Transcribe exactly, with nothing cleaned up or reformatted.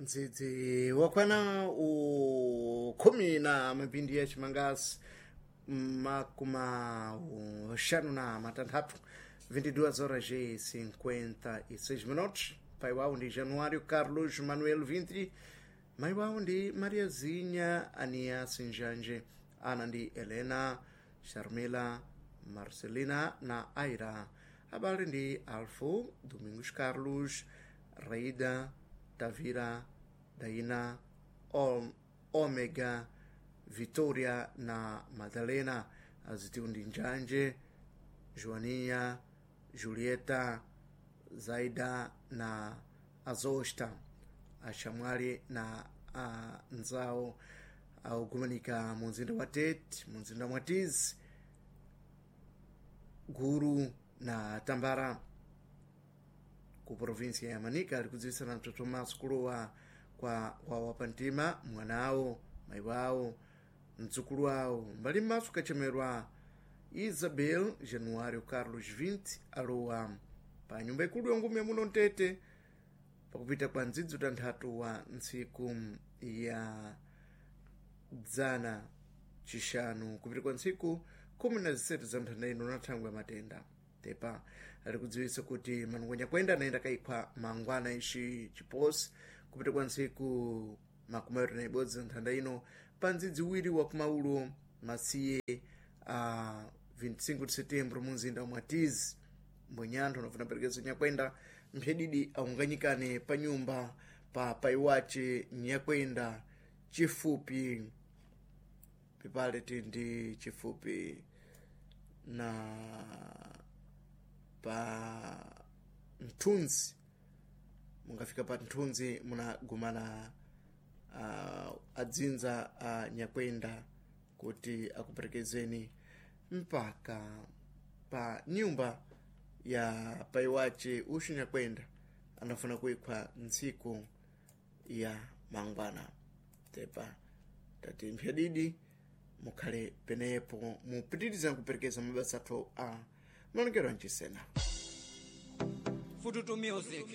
Ndzidzi wakwana u khumi na mapindi ya chimangasi makuma xanu na matanthatu vinte e duas horas e cinquenta e seis minutos. Pai wawo ndi Januário Carlos Manuel Vintri, mai wawo ndi Mariazinha Ania Sinjanje, ana ndi Helena, Sharmila, Marcelina na Aira. Abale ndi Alfo, Domingos Carlos, Raida, Tavira, Daina, Om, Omega, Vitória na Madalena. Azitiwu ndi Njanje, Joaninha, Julieta, Zaida na Azosta. Axamwali na anzawo akugumanika mu mzinda wa Tete, mu mzinda mwa Tizi, Guru na Tambara ku província ya Manica, ali kudziwitsana mtoto maso kulowa kwa wawapantima mwanawo, mayi wawo, mdzukulu wawo mbali m'maso kachemerwa Isabel Januário Carlos vinte alowa pa nyumba ikulu yongume muno mtete pakupita kwa ndzidzo tanthatu wa ntsiku ya dzana chixanu kupita kwa ntsiku khumi na zisanu za nthanda ino na thangwe ya matenda. Tepa ali kudziwitsa kuti manungwe kwenda anayenda kaikhwa mangwana ixi chiposi kupita kwa ntsiku makumi awiri na ibodzi za nthanda ino pa ndzidzi wiri wa kumaulo masiye a vinte e cinco de setembro mu mzinda wa Mwatizi. Mbwenyanthu anafuna perekezo nyakwenda mphedidi aunganyikane pa nyumba pa paiwace nyakwenda chifupi pipale tindi chifupi na pa mthunzi. Mungafika pa mthunzi munagumana uh, adzinza a uh, nyakwenda kuti akuperekezeni mpaka pa nyumba ya paiwace uxu nyakwenda anafuna kuikhwa ntsiku ya mangwana. Tepa tati mphyadidi mukhale penepo mupitiriza kuperekeza mabasa athu a malongero ancisena. Fututu Music.